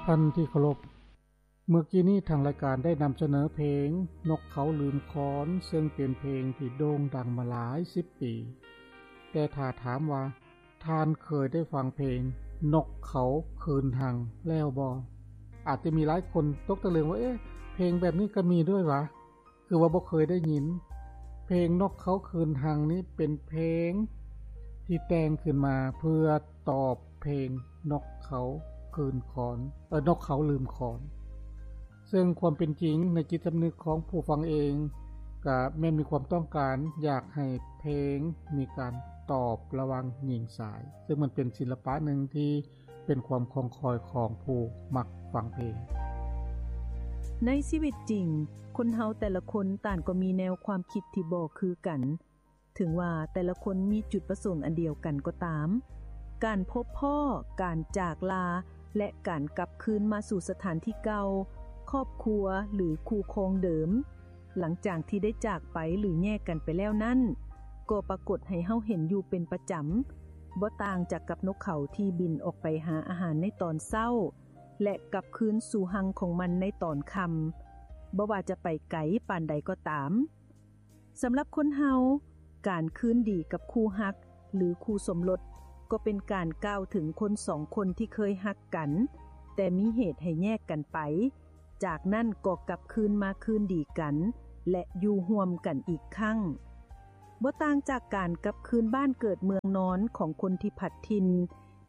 ທ່านที่เคารพ เมื่อกี้นี้ทางรายการได้นำเสนอเพลงนกเขาลืมขอน ซึ่งเป็นเพลงที่โด่งดังมาหลายสิบปี แต่ถ้าถามว่าท่านเคยได้ฟังเพลงนกเขาคืนฮังแล้วบ่ อาจจะมีหลายคนตกตะลึงว่า เอ๊ะ เพลงแบบนี้ก็มีด้วยหวา คือว่าบ่เคยได้ยิน เพลงนกเขาคืนฮังนี้เป็นเพลงที่แต่งขึ้นมาเพื่อตอบเพลงนกเขาคืนขอน เอ่อ นกเขาลืมขอน ซึ่งความเป็นจริงในจิตสำนึกของผู้ฟังเอง ก็แม่นมีความต้องการอยากให้เพลงมีการตอบระหว่างหญิงชาย ซึ่งมันเป็นศิลปะหนึ่งที่ เป็นความคองคอยของผู้มักฟังเพลง ໃນຊີວິດຈິງ, ຄົນເຮົາແຕ່ລະຄົນຕ່າງກໍມີແນວຄວາມຄິດທີ່ບໍ່ຄືກັນ. ເຖິງວ່າແຕ່ລະຄົນມີຈຸດປະສົງອັນດຽວກັນກໍຕາມ, ການພົບພໍ້, ການຈາກລາ ແລະ ການກັບຄືນມາສູ່ສະຖານທີ່ເກົ່າ, ຄອບຄົວ ຫຼື ຄູ່ຄອງເດີມ, ຫຼັງຈາກທີ່ໄດ້ຈາກໄປ ຫຼື ແຍກກັນໄປແລ້ວນັ້ນ, ກໍປາກົດໃຫ້ເຮົາເຫັນຢູ່ເປັນປະຈຳ, ບໍ່ຕ່າງຈາກກັບນົກເຂົາທີ່ບິນອອກໄປຫາອາຫານໃນຕອນເຊົ້າ ແລະ ກັບຄືນສູ່ຮັງຂອງມັນໃນຕອນຄ່ຳ, ບໍ່ວ່າຈະໄປໄກປານໃດກໍຕາມ. ສຳລັບຄົນເຮົາ, ການຄືນດີກັບຄູ່ຮັກ ຫຼື ຄູ່ສົມລົດ ກໍເປັນການກ່າວເຖິງຄົນສອງຄົນທີ່ເຄີຍຮັກກັນ, ແຕ່ມີເຫດໃຫ້ແຍກກັນໄປ, ຈາກນັ້ນກໍກັບຄືນມາຄືນດີກັນ ແລະ ຢູ່ຮ່ວມກັນອີກຄັ້ງ. ບໍ່ຕ່າງຈາກການກັບຄືນບ້ານເກີດເມືອງນອນຂອງຄົນທີ່ພັດຖິ່ນ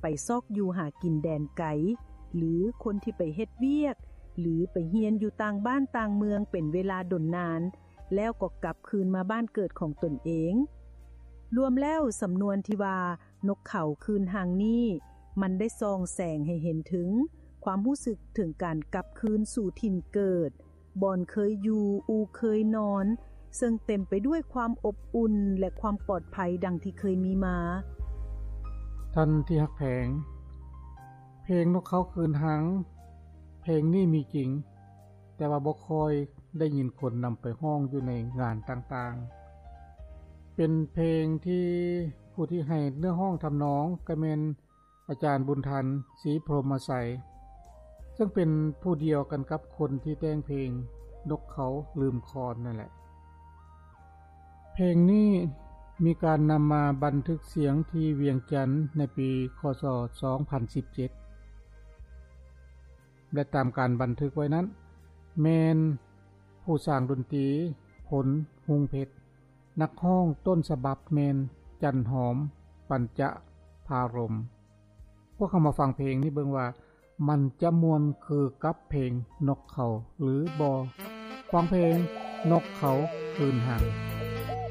ໄປຊອກຢູ່ຫາກິນແດນໄກ ຫຼື ຄົນທີ່ໄປເຮັດວຽກ ຫຼື ໄປຮຽນຢູ່ຕ່າງບ້ານຕ່າງເມືອງເປັນເວລາດົນນານ ແລ້ວກໍກັບຄືນມາບ້ານເກີດຂອງຕົນເອງ. ລວມແລ້ວ, ສຳນວນທີ່ວ່າ ນົກເຂົາຄືນຮັງນີ້ ມັນໄດ້ສ່ອງແສງໃຫ້ເຫັນເຖິງຄວາມຮູ້ສຶກເຖິງການກັບຄືນສູ່ຖິ່ນເກີດ, ບ່ອນເຄີຍຢູ່, ອູ່ເຄີຍນອນ, ເຊິ່ງເຕັມໄປດ້ວຍຄວາມອົບອຸ່ນ ແລະ ຄວາມປອດໄພດັ່ງທີ່ເຄີຍມີມາ. ທ່ານທີ່ຮັກແພງ, ເພງນົກເຂົາຄືນຮັງ ເພງນີ້ມີຈິງ, ແຕ່ວ່າບໍ່ຄ່ອຍໄດ້ຍິນຄົນນຳໄປຮ້ອງຢູ່ໃນງານຕ່າງໆ. ເປັນເພງທີ່ຜູ້ທີ່ໃຫ້ເນື້ອຮ້ອງທຳນອງກໍແມ່ນອາຈານບຸນທັນ ສີພົມມະໄຊ, ເຊິ່ງເປັນຜູ້ດຽວກັນກັບຄົນທີ່ແຕ່ງເພງນົກເຂົາລືມຄອນນັ້ນແຫຼະ. ເພງນີ້ມີການນຳມາບັນທຶກສຽງທີ່ວຽງຈັນໃນປີ ຄ.ສ. ສອງພັນສິບເຈັດ ແລະ ຕາມການບັນທຶກໄວ້ນັ້ນ ແມ່ນຜູ້ສ້າງດົນຕີ ພົນ ຮຸງເພັດ, ນັກຮ້ອງຕົ້ນສະບັບແມ່ນ ຈັນຫອມ ປັນຈະພາລົມ. ພວກເຮົາມາຟັງເພງນີ້ເບິ່ງວ່າ ມັນຈະມ່ວນຄືກັບເພງນົກເຂົາຫຼືບໍ່? ຟັງເພງນົກເຂົາຄືນຮັງ.